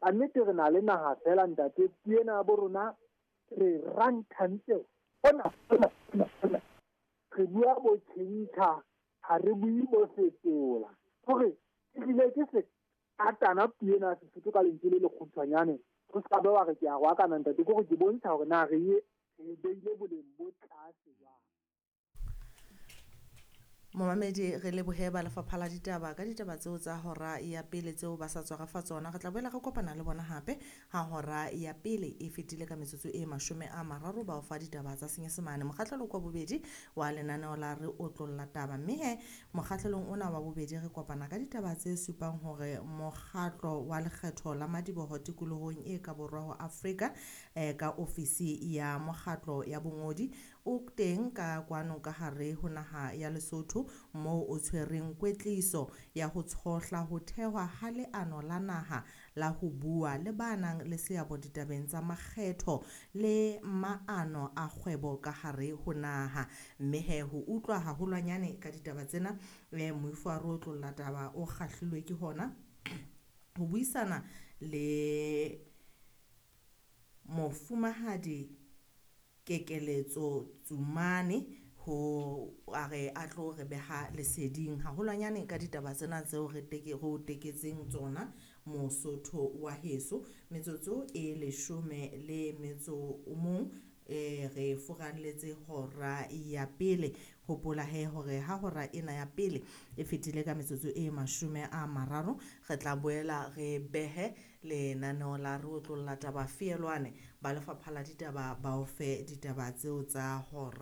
Ka nnete re na le naha fela ntate, puo ena ya bo rona re ranthantse hona hona hona hona. Re bua bo tjhentjha, ha re bue bo fetola. Hore ehlile ke se katana puo ena ya Sesotho ka lentswe le lekgutshwanyane. Ho ska be wa re ke a roakana ntate, ke hore ke bontsha hore na re e re beile boleng bo tlase jwang. Momamedi, re lebohe ba lefapha la ditaba ka ditaba tseo tsa hora ya pele tseo ba sa tswa re fa tsona. Re tla boela re kopana le bona hape ha hora ya pele e fetile ka metsotso e 30 ba o fa ditaba tsa Senyesemane. Mokgahlelo kwa bobedi wa lenaneo la re otlolla taba, mme he mokgahlelong ona wa bobedi re kopana ka ditaba tse supang hore mokgatlo wa lekgetho la madiboho tikolohong e ka borwa ho Afrika ka ofisi ya mokgatlo ya bongodi o teng ka kwano ka hare ho naha ya Lesotho moo o tshwereng kwetliso ya ho tshohla ho thehwa ha leano la naha la ho bua le ba nang le seabo ditabeng tsa makgetho le maano a kgwebo ka hare ho naha. Mme he ho utlwa haholwanyane ka ditaba tsena, moifo wa re otlolla taba o kgahlilwe ke hona ho buisana le mofumahadi Kekeletso Tsumane ho a re a tlo re beha leseding haholwanyane ka ditaba tsena tseo re teke re o teketseng tsona Mosotho wa heso. Metsotso e 11 re furalletse hora ya pele. Hopola he hore ha hora ena ya pele e fetile ka metsotso e 30, re tla boela re behe lenaneo la re otlolla taba feelwane. Ba lefapha la ditaba ba o fe ditaba tseo tsa hora.